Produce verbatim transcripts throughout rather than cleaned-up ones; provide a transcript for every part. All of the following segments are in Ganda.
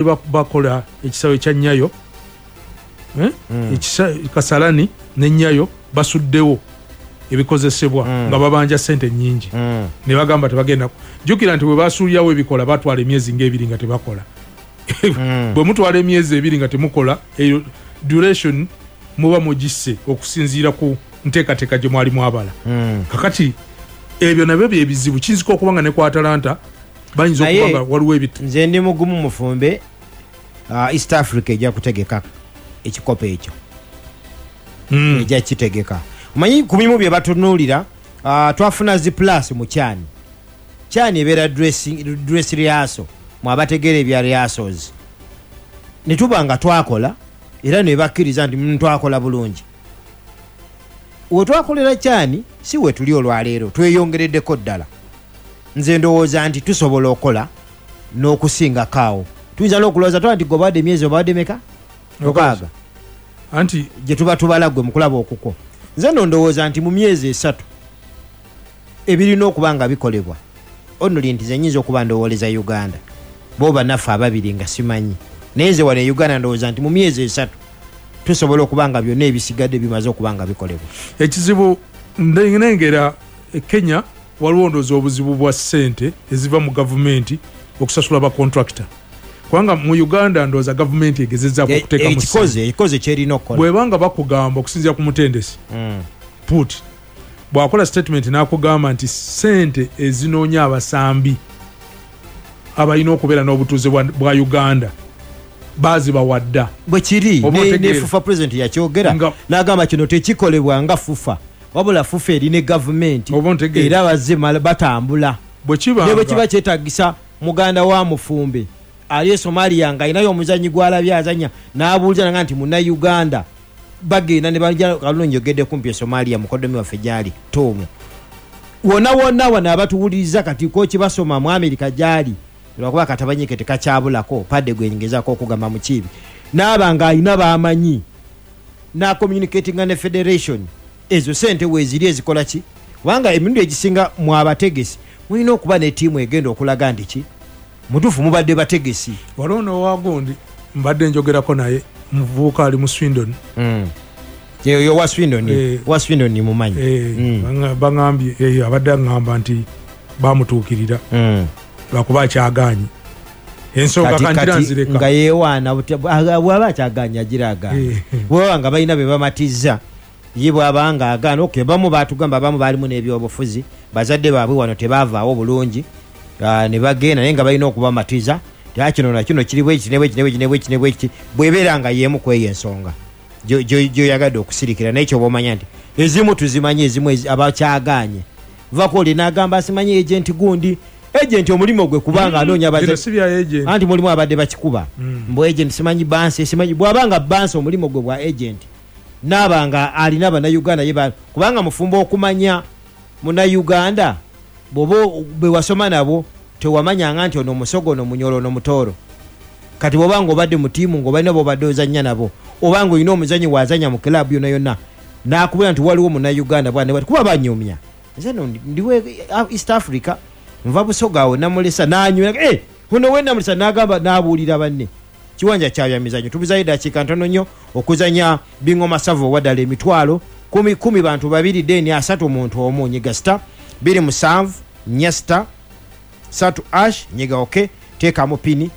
Bakola ekisawe kya Nyayo, eh? Mm. Ekisa Kasalani ne Nyayo basuddewo ebikozesebwa Mm. nga babanja sente nnyingi. Mm. Ne bagamba tebagenda. Jjukira nti bwe basuulirawo ebikola batwala emyezi ng'ebiri nga tebakola. Mm. Bwe mutwala emyezi ebiri nga temukola, eyo duration muba mugisse okusinziira ku nteekateeka gye mwali mwabala. Mm. Kakati ebyo nabyo bye bizibu, kiyinzika okuba nga ne ku Atalanta bayinza Naye okuba nga waliwo ebit- nze ndi mugumu mufumbe, uh, East Africa ejja kutegeka ekikopo ekyo. Mm. Ejja kitegeka. Omanyi ku bimu bye batunuulira, uh, twafuna zi plus mu CHAN. CHAN ebeera dressing, dress rehearsal, mwe abategeera ebya rehearsals. Ne tuba nga twakola era ne bakkiriza nti mm, twakola bulungi. We twakolera CHAN si we tuli olwaleero, tweyongereddeko ddala. Nze ndowooza nti tusobola okukola n'okusingako awo. Tuyinza n'okulowooza twa nti gobadde emyezi obadde meka? Mukaaga. Anti gye tuba tubala gwe mu kulaba okukwo. Nze nno ndowooza nti mu myezi esatu ebirina okuba nga bikolebwa, only nti nze nnyinza okuba ndowooleza Uganda, bo bannaffe ababiri nga simanyi. Naye nze wano e Uganda ndowooza nti mu myezi esatu tusobola okuba nga byonna ebisigadde bimaze okuba nga bikolebwa. Ekizibu nnengera e Kenya waliwo ndowooza obuzibu bwa ssente eziva mu gavumenti okusasula ba contractor. Kubanga mu Uganda ndowooza gavumenti egezezzaako E- okuteekamu ekikoze, ssente. Ekikoze kyerina okukola. Bw'ebanga bakugamba okusinziira ku mutendesi, Mm. Put bw'akola statement n'akugamba nti ssente ezinoonya abasambi abalina okubeera n'obutuuze bwa, bwa Uganda baazibawa dda. Bwe kiri, Oba ne, ne otegeera. FUFA president yakyogera Nga n'agamba kino tekikolebwa nga FUFA, wabula FUFA eri ne gavumenti Oba ontegeera. era bazze mala-, batambula. Bwe kiba Ne bwe nga kiba kyetaagisa muganda wa mufumbe ali e Somalia ng'alinayo omuzannyi gw'alabye azannya n'abuuliza nanga nti munnayuganda, bagenda ne bajja. Kalungi njogedde kumpi e Somalia mukoddomi waffe gy'ali Tom. Wonna wonna wano abatuwuliriza kati koki basoma mu Amerika gy'ali, lwakuba katabanyike tekakyabulako padde gwe ngezaako okugamba mu kibi, n'aba ng'alina b'amanyi n'acommunicatinga ne federation, ezo sente weeziri ezikola ki? Kubanga emirundi egisinga mwe abategesi mulina okuba ne ttiimu egenda okulaga nti ki mutuufu mubadde bategesi. Waliwo n'owagundi mbadde njogerako naye, muvubuka ali mu Swindon. Mm. Yo wa Swindon, Eh. wa Swindon mumanyi. Eh, Mm. banga-, bangambye, eh, abadde aŋŋamba nti bamutuukirira. Mm. Lwakuba akyagaanyi. Ensonga Kati- kangira kati nzireka. nga yeewaana butya, bwa-, bw'aba akyagaanyi agira agaana. Eh. Bw'aba nga balina be bamatizza, ye bw'aba nga agaana, okay, bamu baatugamba abamu baalimu n'ebyobufuzi, bazadde baabwe wano tebaavaawo bulungi, ah, ne bagenda naye nga balina okubamatiza, nti, kino na kino kiri bwe kiti, ne bwe kiti, ne bwe kiti, ne bwe kiti, ne bwe kiti, bw'ebeera nga y'emu ku eyo ensonga gyo-, gyo-, gy'oyagadde okusirikira, naye kyoba omanya nti ezimu tuzimanyi, ezimu ezi-, abakyagaanye. Vako oli n'agamba simanyi agent gundi, agent omulimu gwe kubanga Mm. anoonya Bino abazadde. si bya agent. Anti mulimu abadde bakikuba. Mm. Mbu agent simanyi bansi, simanyi bw'abanga bansi omulimu gwe bwa agent, n'aba nga alina bannayuganda ye ba-, kubanga mufumbo okumanya munnayuganda bw'oba bwe wasoma nabo tewamanyanga nti ono musogo, ono munyolo, ono mutooro. Kati bw'oba ng'obadde mu ttiimu ng'obalina b'obadde ozannya nabo, oba ng'olina omuzannyi w'azannya mu club yonna yonna, n'akubwira nti waliwo munnayuganda bw'ani bw'ati, kuba banyumya. Nze nno ndi, ndi we East Africa, nva Busoga awo namulesa, n'anywera, eh, ono we namulesa, n'agamba, n'abuulira banne. Kiwanja kya byamizannyo, tubuzayo eddakiika ntono nnyo okuzannya Bingoma Savo owa ddala emitwalo kumi, kumi bantu babiri, deni asatu muntu omu, nyiga star bbiri musanvu nnya star satu ash, nyiga okay, teekamu pini,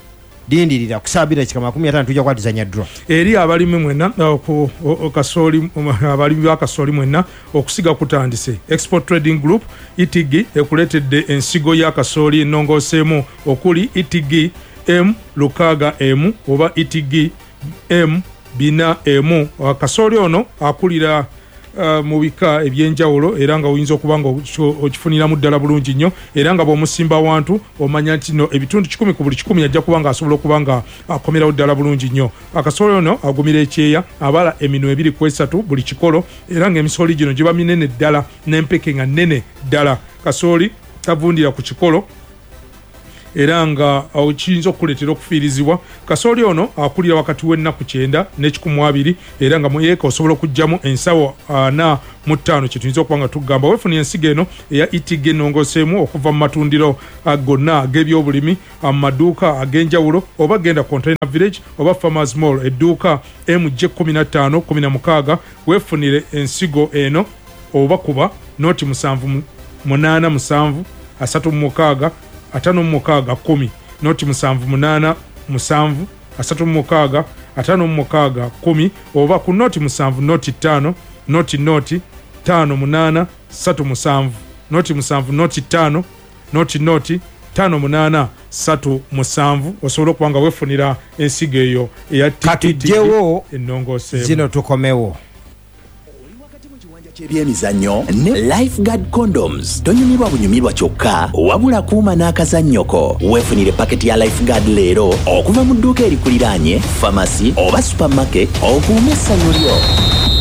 lindirira ku ssaawa bbiri dakika makumi ataano tujja kukwatizanya draw. Eri abalimi mwenna, ku, o, o, kasooli, um, abalimi ba kasooli mwenna, okusiga kutandise. Export Trading Group E T G ekuleetedde ensigo ya kasooli ennongooseemu okuli E T G M lukaaga emu oba E T G M bina emu. Kasooli ono akulira, uh, mu bika ebyenjawulo era nga oyinza okuba nga okyo-, okifuniramu ddala bulungi nnyo, era nga bw'omusimba wantu omanya nti no ebitundu kikumi ku buli kikumi ajja kuba nga asobola okuba nga akomerawo ddala bulungi nnyo. Akasooli ono agumira ekyeya, abala eminwe ebiri ku esatu buli kikolo, era ng'emisooli gino giba minene ddala n'empeke nga nnene ddala. Kasooli tavundira ku kikolo Era nga kiyinza okukuleetera okufiirizibwa. Kasooli ono akulira wakati w'ennaku kyenda n'ekikumi abiri, era nga mu eka osobola okuggyamu ensawo ana mu ttaano. Kye tuyinza okuba nga tugamba, weefunira ensigo eno eya E T G ennongooseemu okuva mu matundiro gonna ag'ebyobulimi, mu maduuka ag'enjawulo, oba genda Container Village oba Farmers Mall, edduuka M J kkumi na ttaano kkumi na mukaaga, weefunire ensigo eno, oba kuba noti musanvu munaana musanvu asatu mu mukaaga ataano mu mukaaga kkumi, noti musanvu munaana musanvu asatu mu mukaaga ataano mu mukaaga kkumi, oba ku noti musanvu noti ttaano noti noti ttaano munaana ssatu musanvu, noti musanvu noti ttaano noti noti ttaano munaana ssatu musanvu, osobola okuba nga weefunira ensigo eyo eya Katugyewo ennongooseemu. Zino tukomewo. Ky'ebyemizannyo ne Lifeguard Condoms. Tonyumirwa bunyumirwa kyokka, wabula kuuma n'akazannyoko. Weefunire paketi ya Lifeguard leero okuva mu dduuka erikuliraanye, famasi oba supermarket, okuume essanyu lyo.